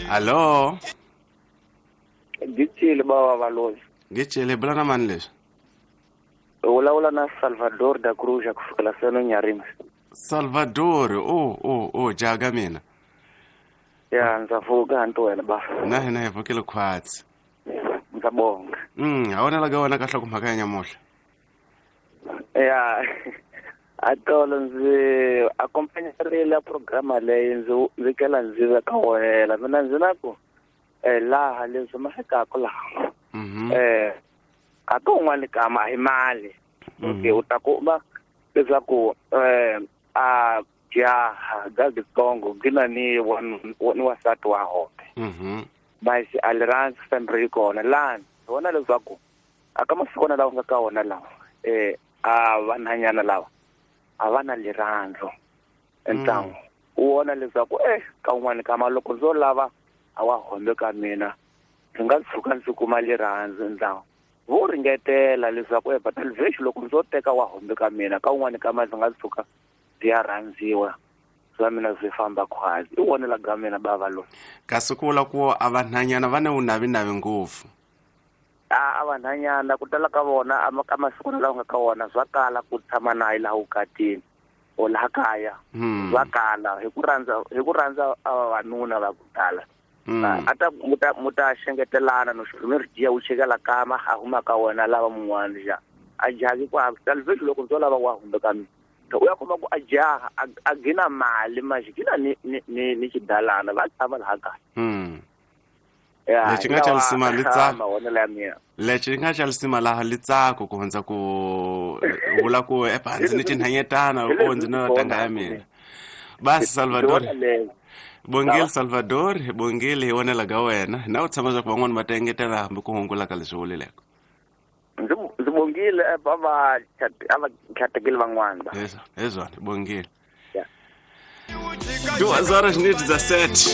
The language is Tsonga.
Hallo. Gitshile baba Valoyi. Gitshile bula na mani leswi? Vulavula na Salvador da Cruz ku sukela Seno Nyarima. Salvador, o jaga mina. Ya, ndza pfuka hanti wena ba. Na hina hi pfukile khwatsi. Ndza bonga. A wona la wena kahle ku mhaka ya nyamuhla. Ya. Atolo ndzi accompagnerile programa leyi ndzi kela ndzi veka wena. Mina ndzi na ku laha leswi mafikaka laha. A to un'wana kama hi mali. Okay, u ta kuma leswaku a jaha gagitsongo gina ni ni wasati wa hope. Basi a rirhandzu family yi kona lani vona leswaku aka masikwana lawa nga ka wona lawa a vanhanyana lava a va na rirhandzu entlangu u vona leswaku ka un'wana kama loko ndzo lava a wa hombe ka mina ndzi nga tshuka ndzi kuma rirhandzu entlangu vo ringetela leswaku batalvex loko ndzo teka wa hombe ka mina ka un'wana kama ndzi nga tshuka ndzi ya rhandziwa swa mina swi famba khwazi i wona la ga mina bava lo kasi ku vula ku a vanhanyana va na vunavinavi ngopfu a vanhanyana ku tala ka vona ka masiku lawa nga ka wona swa kala ku tshama naye laha vukatini or laha kaya swa kala hi ku rhandza vavanuna va ku tala ata muta xengetelana no xirhumeri jiya u chekela kama a huma ka wena lava mun'wana ja a jaki ku talvexi loko ndzo lava wa humbe ka mina u ya kuma ku a jaha a gina mali manje gina ni xidalana va tshama laha kaya. Lexi nga xa lisima litsako lexi nga xa lisima laha litsako ku hundza ku vula ku ndzi ni tinhanyetana o ndzi na tanga ya mina basi Salvador bongile Salvador bongile hi wona laga wena na u tshama swa ku van'wana va ta engetela hambi ku hungula ka leswi vulileko ndzi bongile va va khatekile van'wana hezwani bongile 2 horas 17.